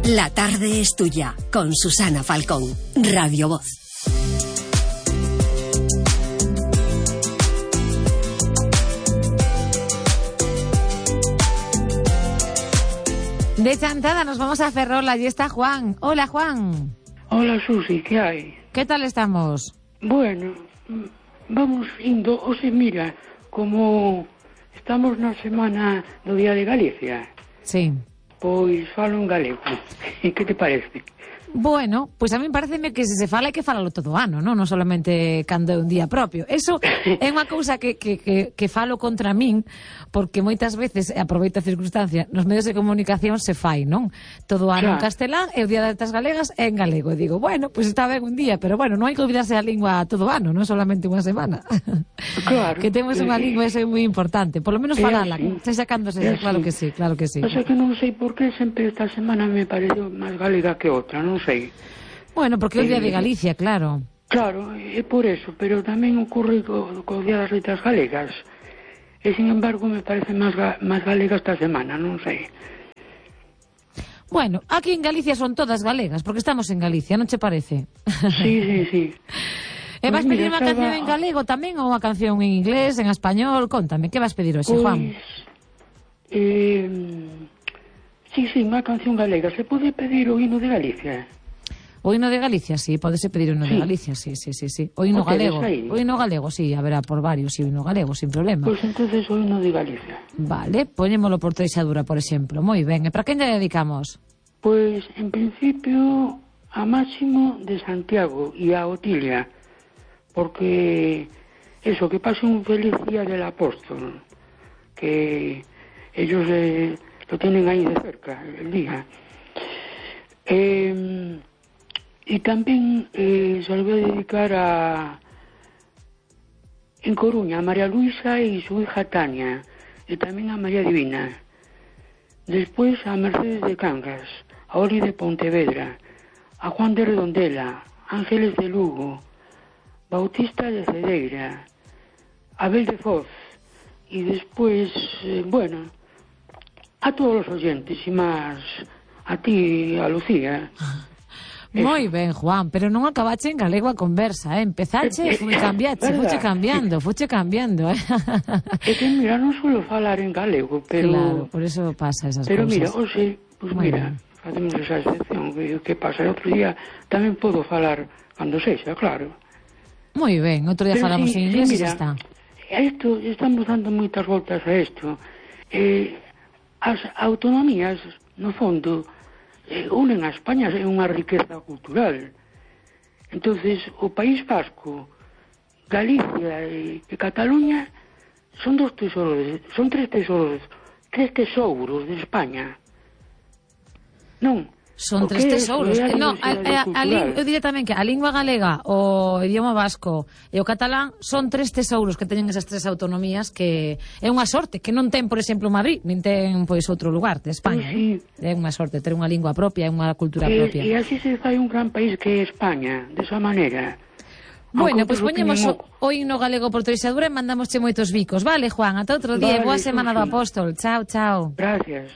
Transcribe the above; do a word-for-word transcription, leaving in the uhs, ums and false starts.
La tarde es tuya, con Susana Falcón, Radio Voz. De chantada nos vamos a Ferrol, allí está Juan. Hola, Juan. Hola, Susi, ¿qué hay? ¿Qué tal estamos? Bueno, vamos indo, o sea, mira, como estamos na semana do Día de Galicia. Sí. Pois falo en galego. Que te parece? Bueno, pois pues a mí pareceme que se se fala hai que falalo todo o ano, non? Non solamente cando é un día propio. Eso é unha cousa que, que, que, que falo contra min, porque moitas veces, aproveito a circunstancia, nos medios de comunicación se fai, non? Todo o ano en castelán e o Día das Letras Galegas é en galego. E digo, bueno, pois pues está ben un día, pero bueno, non hai que olvidarse a lingua todo o ano, non solamente unha semana. Claro. Que temos unha lingua, eso é moi importante. Por lo menos falala, se sacándose, claro que sí, claro que sí. O sea que non sei por que sempre esta semana me pareceu máis galega que outra, non sei. Bueno, porque é o Día de Galicia, claro. Claro, é por eso, pero tamén ocorre co, co Día das Letras Galegas. E, sin embargo, me parece máis, ga, máis galega esta semana, non sei. Bueno, aquí en Galicia son todas galegas, porque estamos en Galicia, non che parece? Sí, sí, sí. E vas pues pedir unha canción en galego tamén ou unha canción en inglés, en español? Contame, que vas pedir hoxe, pues, Juan? Eh, sí, sí, unha canción galega. Se pode pedir o hino de Galicia? O hino de Galicia, sí, podese pedir o hino sí. de Galicia, sí, sí, sí, sí. O hino galego, o hino galego, sí, haberá por varios, sí, o hino galego, sin problema. Pois pues entonces o hino de Galicia. Vale, poñémolo por Treixadura, por exemplo. Moi ben, e para quen lle dedicamos? Pois, pues, en principio, a Máximo de Santiago e a Otilia, porque eso, que pase un feliz día del apóstol, que ellos eh, lo tienen ahí de cerca, el día. Eh... Y también eh, se lo voy a dedicar a, en Coruña, a María Luisa y su hija Tania, y también a María Divina. Después a Mercedes de Cangas, a Oli de Pontevedra, a Juan de Redondela, Ángeles de Lugo, Bautista de Cedeira, Abel de Foz, y después, eh, bueno, a todos los oyentes, y más a ti, a Lucía. Moi ben, Juan, pero non acabache en galego a conversa, eh? Empezache, fui cambiache, fuche cambiando, fuche cambiando, eh? É que, mira, non suelo falar en galego, pero... Claro, por eso pasa esas pero cousas. Pero, mira, hoxe, pues Muy mira, bien. facemos esa excepción, que, que pasa, e outro día tamén podo falar cando sexa, claro. Moi ben, outro día pero falamos sí, en inglés sí, e mira, xa está. Esto, estamos dando moitas voltas a isto. Eh, as autonomías, no fondo... Eh, unen a España, é unha riqueza cultural. Entonces, o País Vasco, Galicia e, e Cataluña son dos tesoros, son tres tesoros, tres tesouros de España. Non? Son tres tesouros. No, a, a, a, eu diré tamén que a lingua galega, o idioma vasco e o catalán son tres tesouros que teñen esas tres autonomías, que é unha sorte que non ten, por exemplo, Madrid, nin ten pois outro lugar de España. Pues sí. eh? É unha sorte ter unha lingua propia e unha cultura e, propia. E así se fai un gran país que é España, desa maneira. Bueno, pois pues poñemos o, o himno galego por Treixadura e mandamosche moitos bicos. Vale, Juan, ata outro día. Vale, Boa semana sí, do Apóstol. Chao, chao. Gracias.